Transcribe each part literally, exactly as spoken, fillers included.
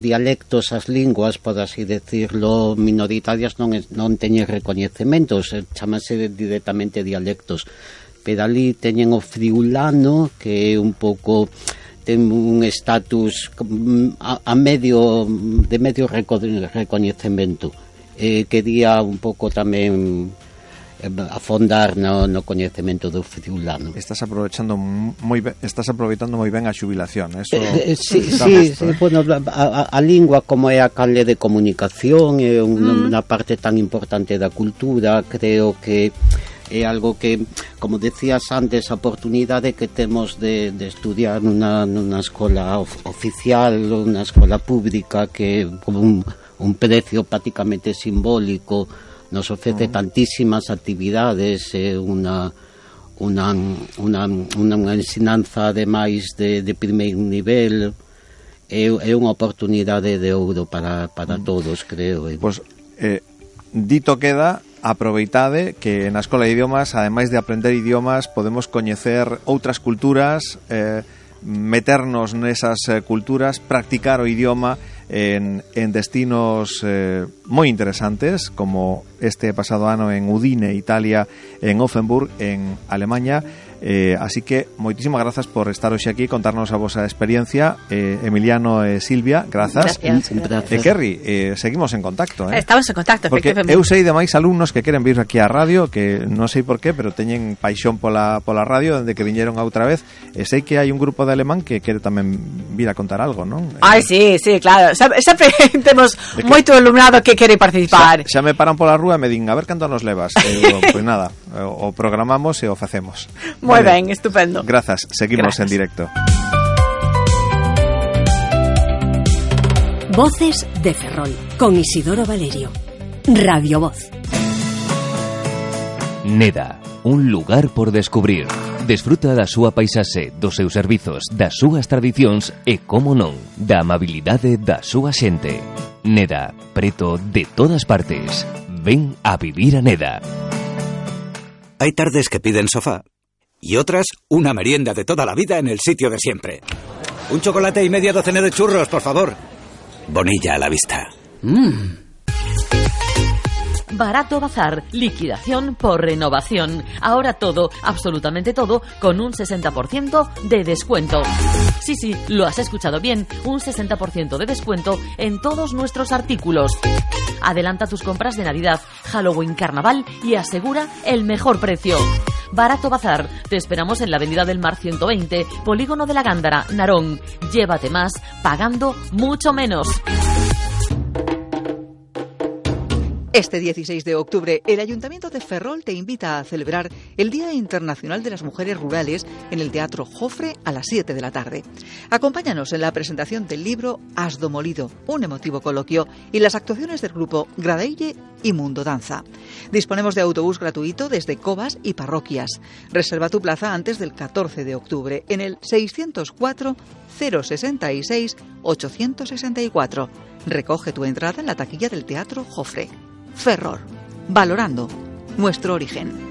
dialectos, as linguas, por así decirlo, minoritarias non, non teñen recoñecementos, chamase directamente dialectos, pero ali teñen o friulano, que é un pouco, ten un estatus a, a medio, de medio reco, recoñecemento, eh, quería un pouco tamén afondar no, no coñecemento do friulano. Estás aprovechando moi ben, estás aproveitando moi ben a xubilación, eso. Eh, eh, sí, sí, sí, bueno, a, a, a lingua como é a canle de comunicación, é un, mm. unha parte tan importante da cultura, creo que é algo que, como decías antes, a oportunidade que temos de, de estudiar nunha, nunha escola of, oficial, unha escola pública que con un, un precio prácticamente simbólico nos ofrece uh-huh. tantísimas actividades, eh, unha, unha, unha, unha ensinanza ademais de, de primeiro nivel, é, é unha oportunidade de ouro para, para uh-huh. todos, creo. Pois, eh, dito queda, aproveitade que na Escola de Idiomas, ademais de aprender idiomas, podemos coñecer outras culturas, eh, meternos nesas eh, culturas, practicar o idioma en, en destinos eh, moi interesantes, como este pasado ano en Udine, Italia, en Offenburg, en Alemanha. Eh, así que moitísimas grazas por estar hoxe aquí, contarnos a vosa experiencia, eh, Emiliano e Silvia, grazas. Gracias, gracias. E Kerry, eh, seguimos en contacto, eh? Estamos en contacto, porque eu sei de máis alumnos que queren vir aquí á radio, que non sei por qué, pero teñen paixón pola, pola radio dende que viñeron a outra vez, e sei que hai un grupo de alemán que quere tamén vir a contar algo, non? Ai, sí, sí, claro, sempre temos moito alumnado que quere participar. Xa, xa me paran pola rúa e me din, a ver canto nos levas, e digo, pois pues nada, o programamos e o facemos. Moi vale. Ben, estupendo. Grazas, seguimos Grazas. En directo. Voces de Ferrol, con Isidoro Valerio. Radio Voz. Neda, un lugar por descubrir. Desfruta da súa paisaxe, dos seus servizos, das súas tradicións e, como non, da amabilidade da súa xente. Neda, preto de todas partes. Ven a vivir a Neda. Hay tardes que piden sofá y otras una merienda de toda la vida en el sitio de siempre. Un chocolate y media docena de churros, por favor. Bonilla a la vista. Mmm. Barato Bazar, liquidación por renovación. Ahora todo, absolutamente todo, con un sesenta por ciento de descuento. Sí, sí, lo has escuchado bien, un sesenta por ciento de descuento en todos nuestros artículos. Adelanta tus compras de Navidad, Halloween, Carnaval y asegura el mejor precio. Barato Bazar, te esperamos en la Avenida del Mar ciento veinte, Polígono de la Gándara, Narón. Llévate más, pagando mucho menos. Este dieciséis de octubre, el Ayuntamiento de Ferrol te invita a celebrar el Día Internacional de las Mujeres Rurales en el Teatro Jofre a las siete de la tarde. Acompáñanos en la presentación del libro Asdo Molido, un emotivo coloquio, y las actuaciones del grupo Gradeille y Mundo Danza. Disponemos de autobús gratuito desde Covas y parroquias. Reserva tu plaza antes del catorce de octubre en el seiscientos cuatro cero sesenta y seis ochocientos sesenta y cuatro. Recoge tu entrada en la taquilla del Teatro Jofre. Ferrol, valorando nuestro origen.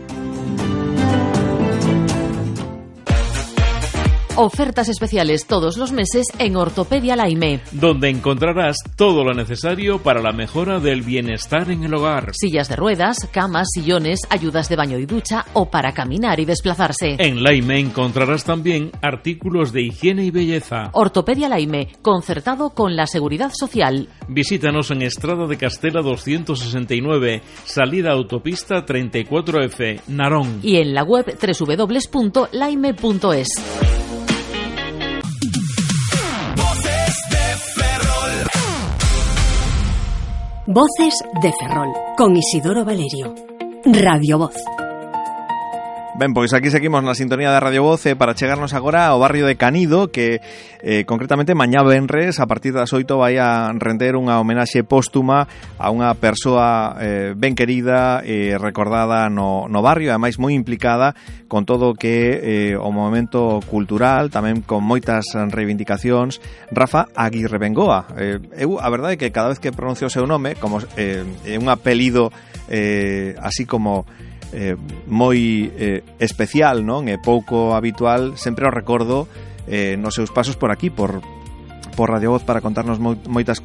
Ofertas especiales todos los meses en Ortopedia Laime, donde encontrarás todo lo necesario para la mejora del bienestar en el hogar. Sillas de ruedas, camas, sillones, ayudas de baño y ducha o para caminar y desplazarse. En Laime encontrarás también artículos de higiene y belleza. Ortopedia Laime, concertado con la Seguridad Social. Visítanos en Estrada de Castela doscientos sesenta y nueve, salida autopista treinta y cuatro F, Narón. Y en la web doble u doble u doble u punto laime punto es. Voces de Ferrol, con Isidoro Valerio. Radio Voz. Ben, pois aquí seguimos na sintonía da Radio Voz eh, para chegarnos agora ao barrio de Canido, que eh, concretamente mañá venres a partir das oito vai a render unha homenaxe póstuma a unha persoa eh, ben querida e eh, recordada no, no barrio, ademais moi implicada con todo o que eh, o movimento cultural, tamén con moitas reivindicacións. Rafa Aguirre Bengoa. Eh, eu, a verdade é que cada vez que pronuncio o seu nome, como eh, é un apelido eh, así como Eh, moi eh, especial, non? E pouco habitual, sempre o recordo eh, nos seus pasos por aquí, por por Radio Voz para contarnos moitas cousas